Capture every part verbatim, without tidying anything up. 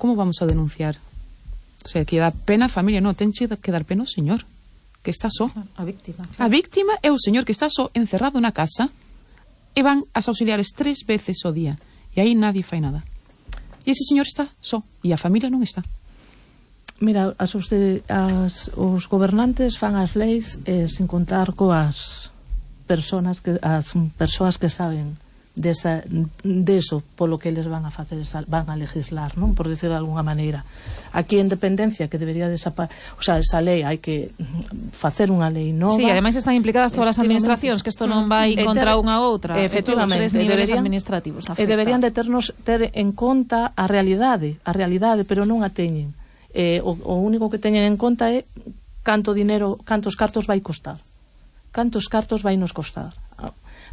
como vamos a denunciar? O sea, que dá pena a familia, non, tenche que dar pena o señor que está só. A víctima. A víctima é o señor que está só encerrado na casa e van as auxiliares tres veces ao día e aí nadie fai nada. E ese señor está só e a familia non está. Mira, as, as, os gobernantes fan as leis eh, sin contar coas personas que, as persoas que saben desa, deso polo que eles van a facer, van a legislar, non? Por decir de alguna maneira. Aquí en dependencia que debería desaparecer, o sea, esa lei hai que facer unha lei nova. Sí, ademais están implicadas todas as administracións, que isto non vai contra unha ou outra, efectivamente, todos os niveles deberían, administrativos afecta. E deberían de ternos ter en conta a realidade, a realidade, pero non a teñen. Eh, o, o único que teñen en conta é canto dinero, cantos cartos vai costar. Cantos cartos vai nos costar.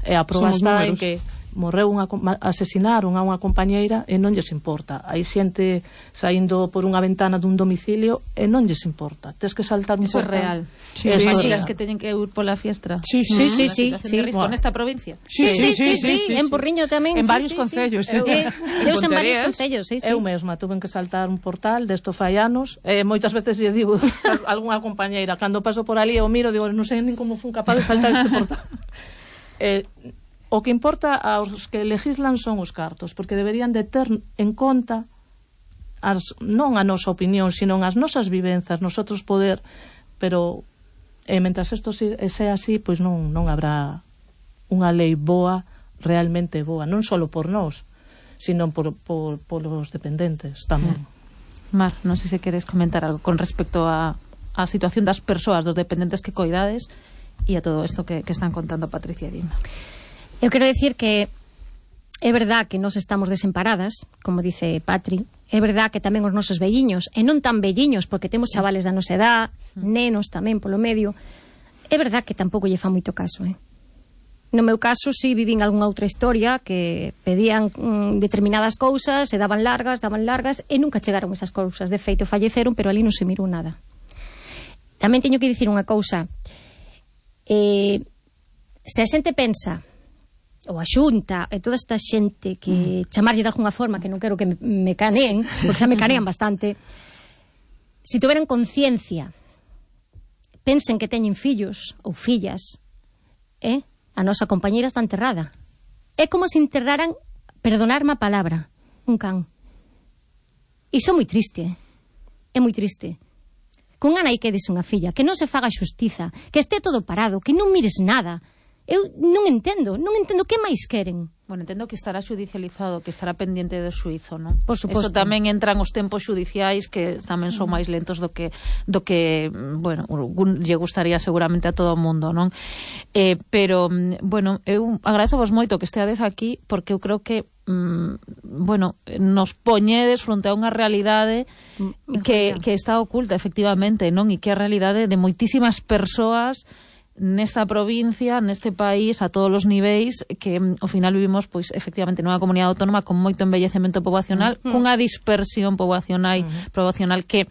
E a proba está en que morreu unha, asesinaron a unha compañeira e non lles importa. Hai xente saindo por unha ventana dun domicilio e non lles importa. Tes que saltar un Eso portal. É real. Sí, sí, sí, sí, as que teñen que ir pola fiestra. Sí, sí, sí, sí, sí. Risco nesta provincia. Sí, sí, sí, sí, sí, en Porriño tamén. En sí, varios sí, concellos. Sí. Eh, Deus en varios concellos, sí, sí. Eu mesma tuve que saltar un portal desto fai anos, e moitas veces lle digo a algunha compañeira, cando paso por ali eu miro, digo, non sei nin como fun capaz de saltar este portal. Eh, o que importa aos que legislan son os cartos, porque deberían de ter en conta as, non a nosa opinión, sino as nosas vivenzas, nosotros poder, pero eh, mentras isto sea así, pois non, non habrá unha lei boa, realmente boa, non só por nós, sino por, por, por os dependentes tamén. Mar, non sei se queres comentar algo con respecto a, a situación das persoas, dos dependentes que coidades e a todo isto que, que están contando Patricia e Dina. Eu quero decir que é verdad que nós estamos desemparadas, como dice Patri, é verdad que tamén os nosos velliños, e non tan velliños, porque temos sí. chavales da nosa edad, nenos tamén polo medio, é verdad que tampouco lle fa moito caso, eh? No meu caso, si, vivín algunha outra historia que pedían mm, determinadas cousas e daban largas, daban largas, e nunca chegaron esas cousas. De feito, falleceron, pero ali non se mirou nada. Tamén teño que dicir unha cousa. Eh, se a xente pensa, ou a Xunta e toda esta xente que mm. chamarlle de alguna forma, que non quero que me, me caneen, porque xa me canean bastante, se tuveran conciencia, pensen que teñen fillos ou fillas, eh? A nosa compañeira está enterrada. É como se enterraran, perdonarme a palabra, un can. Iso é moi triste, é moi triste. Que unha nai quedes unha filla, que non se faga xustiza, que este todo parado, que non mires nada. Eu non entendo, non entendo que máis queren. Bueno, entendo que estará xudicializado, que estará pendiente do xuízo, non? Por suposto. Eso tamén entran os tempos xudiciais que tamén son máis lentos do que do que, bueno, lle gustaría seguramente a todo o mundo, non? Eh, pero, bueno, eu agradezovos moito que esteades aquí porque eu creo que mm, bueno, nos poñedes fronte a unha realidade que, que está oculta, efectivamente, non? E que é a realidade de moitísimas persoas nesta provincia, neste país, a todos os niveis, que ao final vivimos, pois, efectivamente, nunha comunidade autónoma con moito envellecemento poboacional, uh-huh. cunha dispersión poboacional, uh-huh. poboacional que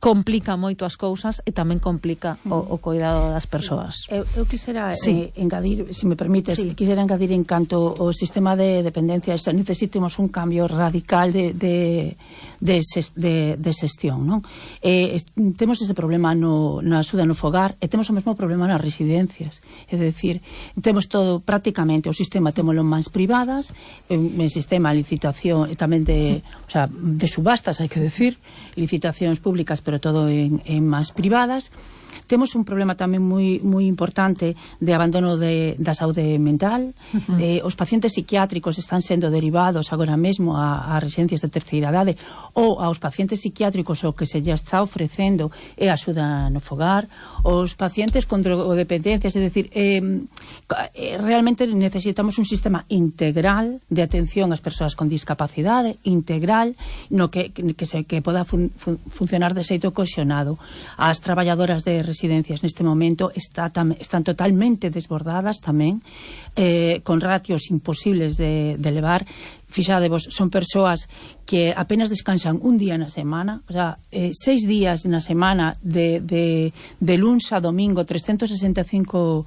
complica moito as cousas e tamén complica o, o cuidado das persoas. Eu, eu quisera sí. eh, engadir, se me permites, sí. quisera engadir en canto ao sistema de dependencia, necesitemos un cambio radical de, de, de, de, de xestión, non? Eh, temos ese problema no, na axuda no fogar e temos o mesmo problema nas residencias, é dicir, temos todo prácticamente o sistema témolo en mans privadas, en, en sistema de licitación e tamén de, o sea, de subastas, hai que decir, licitacións públicas, pero todo en, en mans privadas. Temos un problema tamén moi moi importante de abandono de, da saúde mental. Uh-huh. eh, os pacientes psiquiátricos están sendo derivados agora mesmo a, a residencias de terceira idade ou aos pacientes psiquiátricos o que se lle está ofrecendo é axuda no fogar. Os pacientes con drogodependencias, é dicir, eh, realmente necesitamos un sistema integral de atención ás persoas con discapacidade, integral, no que, que, se, que poda fun, fun, funcionar de xeito cohesionado. As traballadoras de residencias neste momento está tam, están totalmente desbordadas tamén, eh, con ratios imposibles de, de levar. Fixadevos, son persoas que apenas descansan un día na semana, o sea, eh, seis días na semana de, de, de luns a domingo, trescentos sesenta e cinco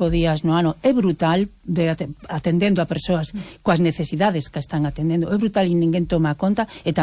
días no ano. É brutal de atendendo a persoas coas necesidades que están atendendo, é brutal e ninguén toma conta, e tamén